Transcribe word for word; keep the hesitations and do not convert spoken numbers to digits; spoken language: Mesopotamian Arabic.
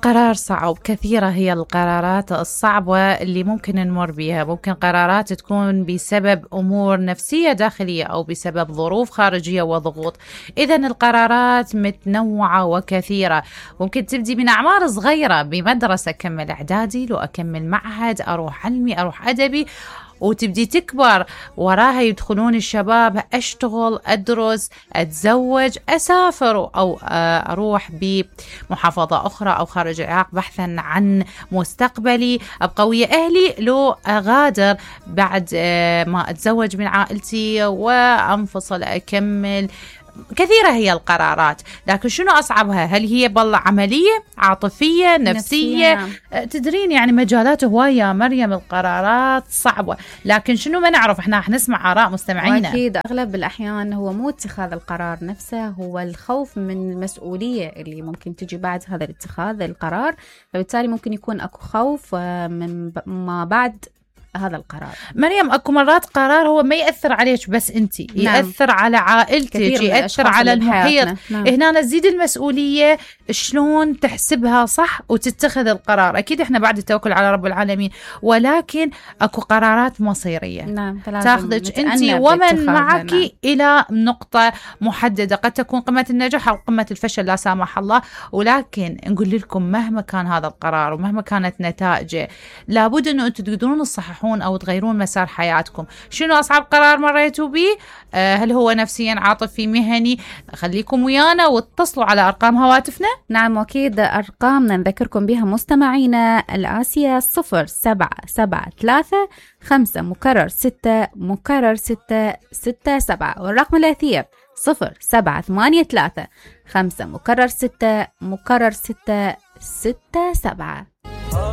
قرار صعب. كثيرة هي القرارات الصعبة اللي ممكن نمر بها. ممكن قرارات تكون بسبب أمور نفسية داخلية أو بسبب ظروف خارجية وضغوط. إذن القرارات متنوعة وكثيرة. ممكن تبدي من أعمار صغيرة بمدرسة، أكمل إعدادي، لو أكمل معهد، أروح علمي، أروح أدبي، وتبدي تكبر وراها يدخلون الشباب، أشتغل، أدرس، أتزوج، أسافر، أو أروح بمحافظة أخرى أو خارج العراق بحثا عن مستقبلي، أبقى ويا أهلي، لو أغادر بعد ما أتزوج من عائلتي وأنفصل، أكمل. كثيرة هي القرارات، لكن شنو أصعبها؟ هل هي بالله عملية، عاطفية، نفسية؟ نفسية. تدرين يعني مجالات هواية مريم، القرارات صعبة، لكن شنو ما نعرف، احنا رح نسمع آراء مستمعينا. أكيد أغلب الأحيان هو مو اتخاذ القرار نفسه، هو الخوف من المسؤولية اللي ممكن تجي بعد هذا الاتخاذ القرار، فبالتالي ممكن يكون أكو خوف من ما بعد هذا القرار. مريم، اكو مرات قرار هو ما يأثر عليك بس انتي، نعم. يأثر على عائلتك، يأثر على المحيط. نعم. هنا نزيد المسؤولية، شلون تحسبها صح وتتخذ القرار. اكيد احنا بعد التوكل على رب العالمين، ولكن اكو قرارات مصيرية، نعم. تاخذك انتي ومن معك، نعم. الى نقطة محددة، قد تكون قمة النجاح او قمة الفشل لا سامح الله. ولكن نقول لكم مهما كان هذا القرار ومهما كانت نتائجه، لابد انه انتم تقدرون تصححون أو تغيرون مسار حياتكم. شنو أصعب قرار مريتوا به؟ أه هل هو نفسيا، عاطفي، مهني؟ خليكم ويانا واتصلوا على أرقام هواتفنا. نعم، وأكيد أرقامنا نذكركم بها مستمعينا الآسية: صفر سبعة سبعة ثلاثة خمسة مكرر ستة مكرر ستة ستة سبعة، والرقم الأثير صفر سبعة ثمانية ثلاثة خمسة مكرر ستة مكرر ستة ستة سبعة.